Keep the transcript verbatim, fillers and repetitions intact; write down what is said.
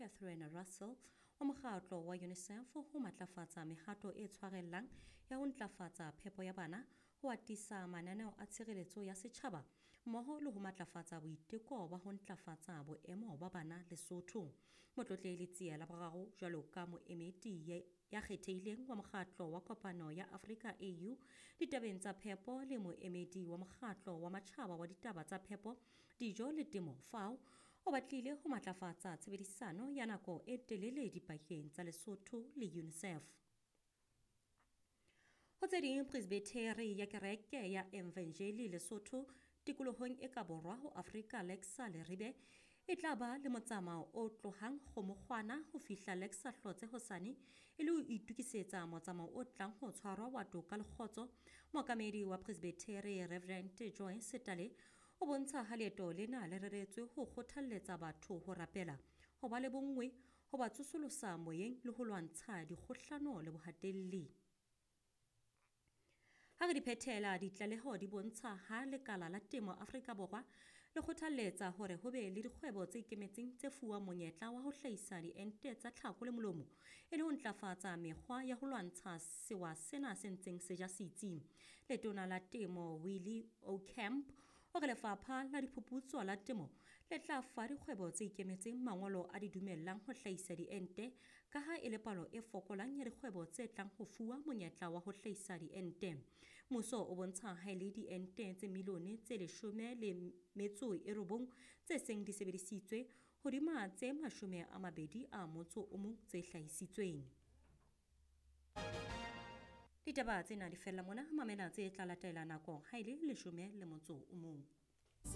Catherine Russell wa mokgatlo wa UNICEF ho matlafatsa mehato e tshwarellang ya ho ntlafatsa phepo ya bana, ho atisa mananeo a tshireletso ya setjhaba mmoho le ho matlafatsa boiteko ba ho ntlafatsa boemo ba bana Lesotho. Motlotlehi Letsie la boraro jwalo ka moemedi ya kgethehileng wa mokgatlo wa kopano ya Afrika A U ditabeng tsa phepo le moemedi wa mokgatlo wa matjhaba wa ditaba tsa phepo, dijo le temo F A O, o batlile ho matlafatsa tshebedisano ya nako e telele dipakeng tsa Lesotho le UNICEF. Ho tse ding, Presbitheri ya Kereke ya Evangeli Lesotho tikolohong e ka borwa ho Afrika Lexa Leribe e tla ba le motsamao o tlohang Kgomokgwana ho fihla Lexa Hlotse hosane e le ho itokisetsa motsamao o tlang ho tshwarwa wa toka le kgotso. Mookamedi wa Presbitheri Reverend Joy Setale o bontsha ha leeto lena le reretswe ho kgothalletsa batho ho rapela, ho ba le bonngwe, ho ba tsosolosa moyeng le ho lwantsha dikgohlano le bohatelli. Ha re di phethela, ditlaleho di bontsha ha lekala la temo Afrika Borwa le kgothalletsa hore ho be le dikgwebo tse ikemetseng tse fuwang monyetla wa ho hlahisa diente tsa tlhako le molomo e le ho ntlafatsa mekgwa ya ho lwantsha sewa sena se ntseng se ja setsi. Letona la Temo Willie Aucamp o re lefapha la diphuputso la temo le tla fa dikgwebo tse ikemetseng mangolo a di dumellang ho hlahisa diente ka ha e le palo e fokolang ya dikgwebo tse tlang ho fuwa monyetla wa ho hlahisa diente. Mmuso o bontsha ha e le diente tse milione tse leshome le metso e robong tse seng di sebedisitswe hodima tse mashome a mabedi a motso o mong tse hlahisitsweng. Ditaba tsena di fella mona, mamela tse tla latela nako ha e le leshome le motso o mong.